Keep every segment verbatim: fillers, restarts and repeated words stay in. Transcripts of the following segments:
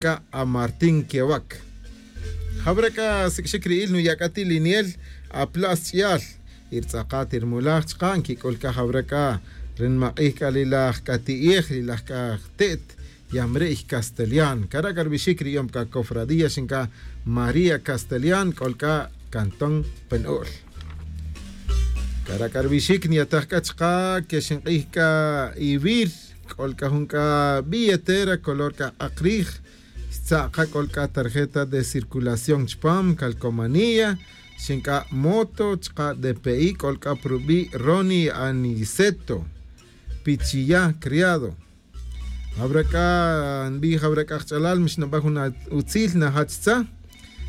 c'a amartín quewac. Jawra c'a siq'uixic ri'il nuya' c'a ti' liniel apla's ch'iyal. Y ri tz'akat y ri mulaj chaka' nquic'ul c'a jawra c'a ri nimak'ij c'a li laj c'a ti'ej li laj c'a te't yamri'y castelian cara' c'a rubixic ri yom c'a cofradía xin c'a maría castelian c'ol c'a cantón penu'l. Cara' c'a rubixic niyataj c'a chaka' que xink'ij c'a ivir c'ol c'a jun c'a billetera color c'a k'ak rij. Xtza' ka c'ol c'a tarjeta de circulación chupam calcomanía xink'a' moto chaka' dpi c'ol c'a pa rubi' roni aniceto pichiya criado. Jawra c'a nbij jawra c'a kach'alal mixnaba' jun utzil najach tza.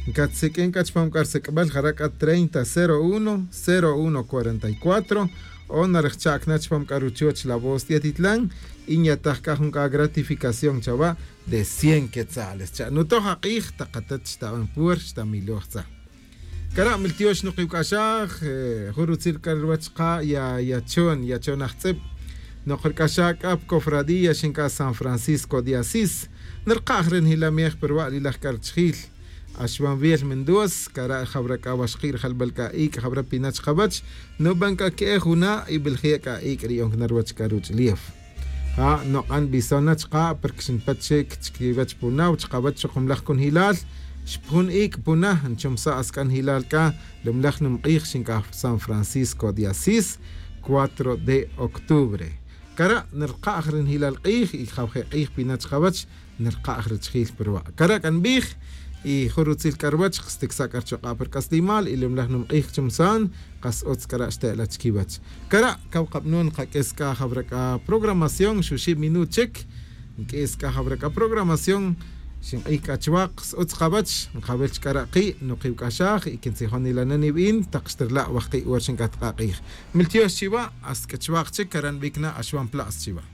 Ncatziq'uin c'a chupam c'a risic'bal jara' c'a treinta cero uno cero uno cuarenta y cuatro. O narejcha'c na chupam c'a ruchoch la voz tietitlan y nyataj c'a jun c'a gratificación chawa' de cien quetzales cha' nutoj ak'ij tak atat xtaban puer xtamiloj tza. Cara' miltiox nukiwc'axaj jun rutzil c'a ruwach ka ya yachon yachon ajtz'ib. Nok ric'axaj c'a pa cofradía xin c'a san francisco de asís. Nirkaj ri njilamej pa ruwa' li laj c'a richijil. Axwan wiel mendoz cara' jawra c'a waxki' rijalbal c'a ic' jawra pina chkawach. Nuban c'a que'ej juna' y belje' c'a ic' ri yo'on cana ruwach c'a ruch' liew. Ja' nok'an bison na chaka' porque xinpet chic chiquiwech puna chakawech chuk jumlaj cunjilal. Xpajun ic' puna nchumsa' asc'anjilal c'a lumlaj numk'ij xinc'aj san francisco de asís. Cuatro de octubre. Cara' nirkaj ri njilal k'ij y jawje' k'ij pina chakawech nirkaj richijil pa ruwa' cara' c'a nbij. Y jun rutzil c'a ruwech xtiksa' c'a richuk'a' pa ric'aslimal y lumlaj numk'ij chumsan. Kas utz c'a ra' xte'la chiquiwech. Cara' caw kabanon kaq'uis c'a jawra c'a programación xuxib minut chic. Nq'uis c'a jawra c'a programación. Xink'ij c'a chuwak kas utz kawech nkawil chi c'a ra' ki' nukiwc'axaj y quintzijon ila' na niwin tak xtirla' wajki' wor xink'at k'a k'ij. Miltiox chiwa' hasta c'a chuwak chic cara' nbic na axwan pla's chiwa'.